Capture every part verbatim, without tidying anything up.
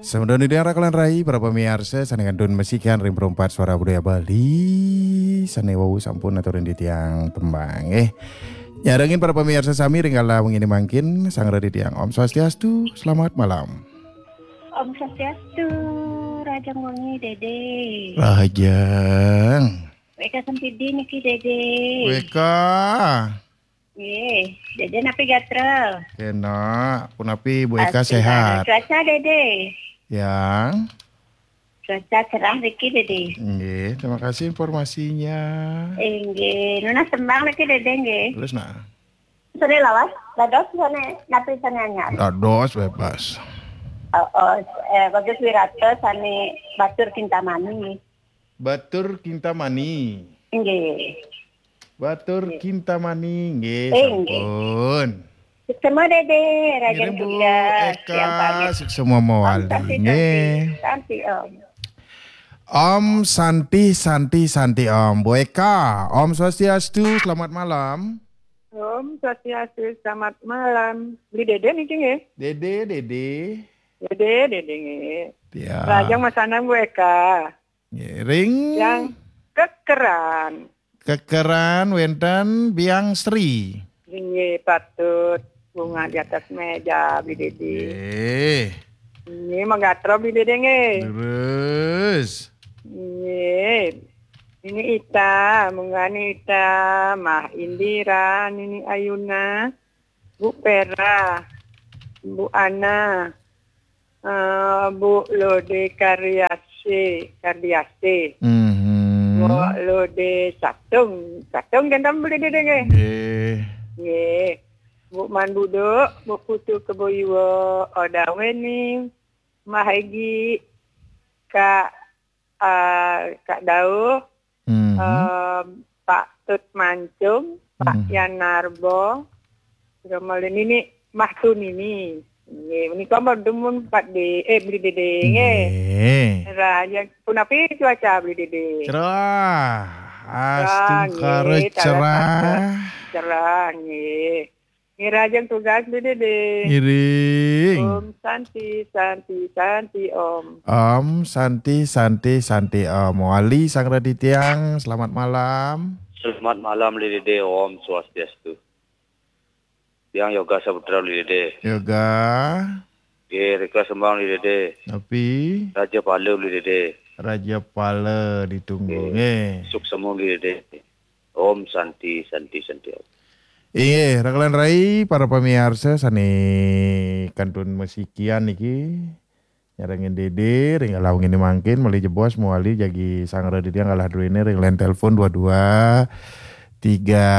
Sampun titiang raka lan rai, para pamiarsa sané kantun masikian ring Perempat Suara Budaya Bali, sané wau sampun aturin titiang tembang, eh. Nyarengin para pamiarsa sami ring kala wenginé mangkin, sareng titiang. Om Swastiastu, selamat malam. Om Swastiastu, rahajeng wengi, Dédé. Rahajeng. Wéka Sempidi niki, Dédé. Wéka. Nggih, Dédé napi gatra? Kénak, punapi Bu Eka? Alhamdulillah. Séhat? Cuaca, Dédé? Yang. Cuaca cerah niki, Dédé. Nggih, terima kasih informasinya. Inggih, nunas tembang niki, Dédé, nggih. Terus, nah. Sané lawas, dados sané napi sané anyar? Dados bebas. Oh, oh, eh, Bagus Wirata sané Batur Kintamani. Batur Kintamani. Nggih. Batur Kintamani, nggih, eh, nggih. Sampun. Suksma, Dédé, rahajeng Bu tugas, Eka, tiang pamit. Suksma mawali, Om Santi, nggih. Santi, Santi, Om. Om Santi, Santi, Santi, Om. Bu Eka, Om Swastiastu, selamat malam. Om Swastiastu, selamat malam. Beli Dédé niki nggih? Dédé, Dédé. Dédé, Dédé nggih. Ya. Rahajeng masanang Bu Eka. Ngiring. Yang kekeran. Kekeran wénten Biang Sri. Inggih, patut. Bunga di atas meja, Beli Dédé. Nggih. Nggih, magatra, Beli Dédé, nggih. Terus. Nggih. Nini Ita, Munggah Nini Ita, Mah Indira, Nini Ayuna, Bu Pera, Bu Ana, eh, Bu Lode Kariase, Kardiase. Mhm. Bu Lode Satung, Satung kan tamu Beli Dédé nggih? Nggih. Nggih. Bu Man Buduk, Bu Putu Kebo Iwa, Oda Wening, Mah Egi, Kak, eh, Kak Dauh, mhm, eh, Pak Tut Mancung, Pak, mhm, Yan Narbo, Romalin ini, Mah Tunini. Nggih, menika mah dumun Pak Dé, eh, Beli Dédé, nggih. Nggih. Rahajeng, punapi cuaca, Beli Dédé? Cerah. Cerah, astungkara nggih, cerah. Cerah, nggih. Nggih, rahajeng tugas, Beli Dédé. Ngiring. Om Santi, Santi, Santi, Om. Om Santi, Santi, Santi, Om. Wali sareng titiang, selamat malam. Selamat malam, Beli Dédé. Om Swastiastu. Tiang Yoga Saputra, Beli Dédé. Yoga. Nggih, rika sembang, Beli Dédé. Napi? Raja Pala, Beli Dédé. Raja Pala ditunggu, nggih, nggih. Suksma, Beli Dédé. Om Santi, Santi, Santi, Om. Inggih, raka lan rai, para pamiarsa sané kantun masikian niki. Nyarengin Dédé, ring kala wenginé mangkin, malih jebos mawali jagi sareng titiang kalih druéné ring line telepon dua dua tiga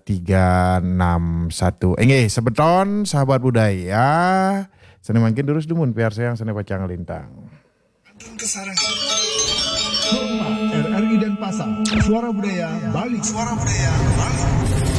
tiga enam satu. Inggih, semeton sahabat budaya. Sané mangkin durus dumun piarsayang sané pacang nglintang. Kantun kasarengin. Hormat, R R I Denpasar, Suara Budaya Bali. Suara Budaya Bali.